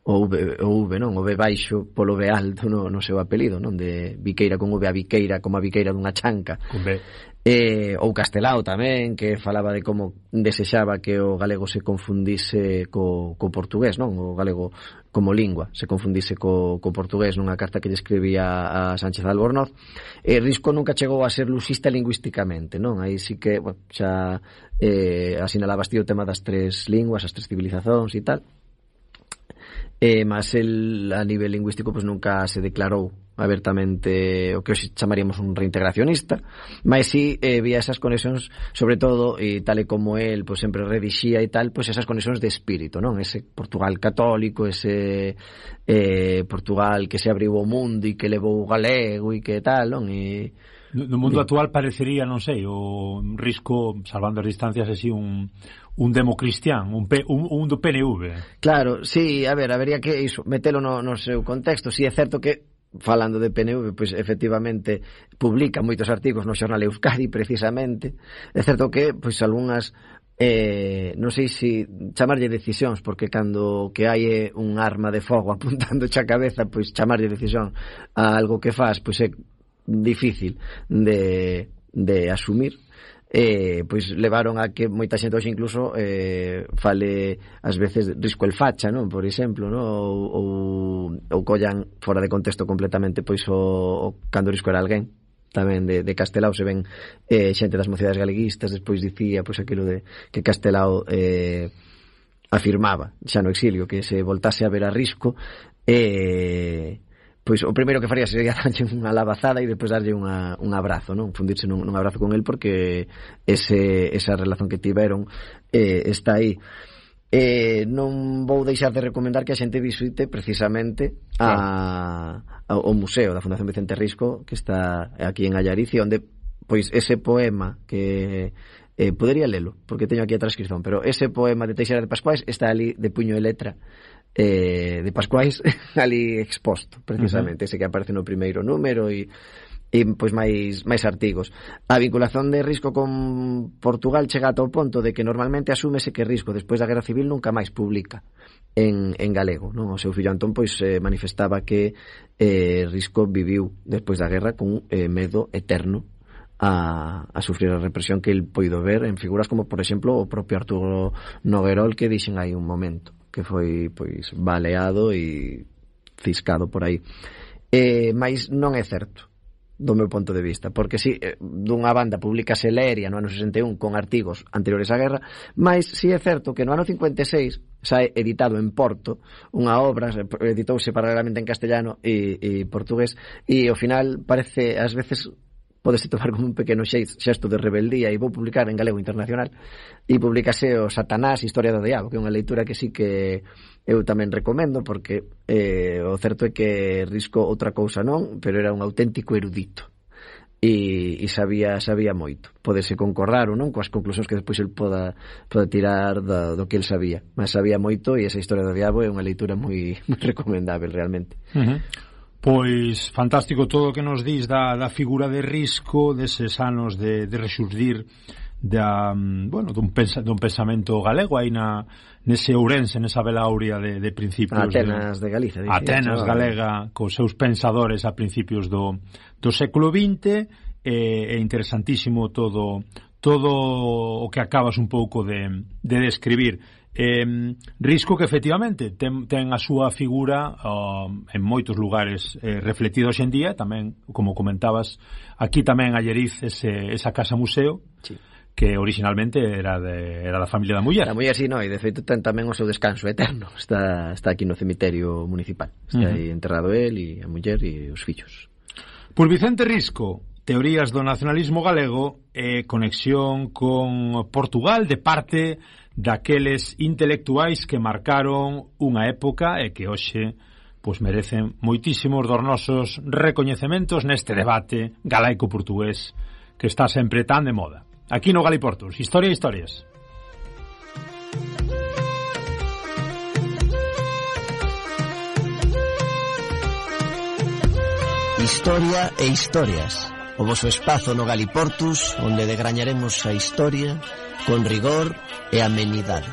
o V, non? O V baixo polo V alto no seu apelido, non? De Viqueira con V a Viqueira como a Viqueira dunha chanca. Con B. Ou Castelao tamén, que falaba de como desexaba que o galego se confundise co portugués, non? O galego como lingua se confundise co portugués nunha carta que lle escribía a Sánchez Albornoz. Risco nunca chegou a ser luxista lingüísticamente, non? Aí sí que, bueno, xa asinalabas ti o tema das tres linguas, as tres civilizacións e tal. Mas el a nivel lingüístico pues nunca se declarou abertamente o que hoxe chamaríamos un reintegracionista, mas si vía esas conexións, sobre todo, e tal e como el pues sempre redixía e tal, pues esas conexións de espírito, non? Ese Portugal católico, ese Portugal que se abriu ao mundo e que levou o galego e que tal, non? E no mundo actual parecería, non sei, o Risco, salvando as distancias, así un democristián, un do PNV. Claro, sí, a ver, habería que iso, metelo no seu contexto. Si é certo que, falando de PNV, pois efectivamente publica moitos artigos no xornal Euskadi, precisamente. É certo que, pois, algunhas non sei se chamarlle decisións, porque cando que hai un arma de fogo apuntando xa cabeza, pois chamarlle decisión a algo que faz, pois é difícil de asumir. Pois levaron a que moita xente hoxe incluso fale ás veces Risco el facha, non? Por exemplo, non? Ou collan fora de contexto completamente pois o cando Risco era alguén tamén de Castelao. Se ven xente das mocidades galeguistas despois dicía pois aquilo de que Castelao afirmaba xa no exilio que se voltase a ver a Risco pois o primeiro que faría sería darlle unha labazada e depois darlle un abrazo, non? Fundirse nun abrazo con el, porque esa relación que tiveron está aí. Non vou deixar de recomendar que a xente visite precisamente ao museo da Fundación Vicente Risco, que está aquí en Allaricia, onde pois ese poema que podería lelo, porque teño aquí a transcripción, pero ese poema de Teixeira de Pascuais está ali de puño e letra de Pascuais ali exposto, precisamente. Ese que aparece no primeiro número e pois máis artigos. A vinculación de Risco con Portugal chega ata o ponto de que normalmente asúmese que Risco despois da Guerra Civil nunca máis publica en galego, non? O seu fillo Antón pois manifestaba que Risco viviu despois da guerra con medo eterno a sufrir a represión que el poido ver en figuras como, por exemplo, o propio Arturo Noguerol, que dixen aí un momento que foi pois baleado e ciscado por aí. Mas non é certo do meu ponto de vista, porque si dunha banda publicase Leria no ano 61 con artigos anteriores á guerra, mas si é certo que no ano 56 sae editado en Porto unha obra, editouse paralelamente en castellano e portugués, e ao final parece, ás veces podese tomar como un pequeno xesto de rebeldía, e vou publicar en galego internacional, e publicase o Satanás, Historia do Diabo, que é unha leitura que sí que eu tamén recomendo, porque o certo é que Risco outra cousa non, pero era un auténtico erudito e sabía moito. Podese concordar ou non coas conclusións que despois el poda tirar do que el sabía, mas sabía moito, e esa Historia do Diabo é unha leitura moi recomendável realmente. Pois fantástico todo o que nos dís da figura de Risco, deses anos de rexurdir dun pensamento galego aí nese Ourense, nesa Vela Áurea de principios Atenas de Galicia, Atenas galega, cos seus pensadores a principios do século XX. É interesantísimo todo o que acabas un pouco de describir. Risco que efectivamente ten a súa figura en moitos lugares reflectida hoxe en día, tamén, como comentabas, aquí tamén a Alleriz esa casa museo, sí, que originalmente era da familia da muller. Da muller, sí, no, e de feito ten tamén o seu descanso eterno, está aquí no cemiterio municipal, está aí enterrado el e a muller e os fillos. Por Vicente Risco, teorías do nacionalismo galego e conexión con Portugal de parte daqueles intelectuais que marcaron unha época e que hoxe pois merecen moitísimos dos nosos recoñecementos neste debate galaico-portugués que está sempre tan de moda. Aquí no Galiportus, Historia e Historias. Historia e Historias, o voso espazo no Galiportus onde degrañaremos a historia con rigor e amenidade.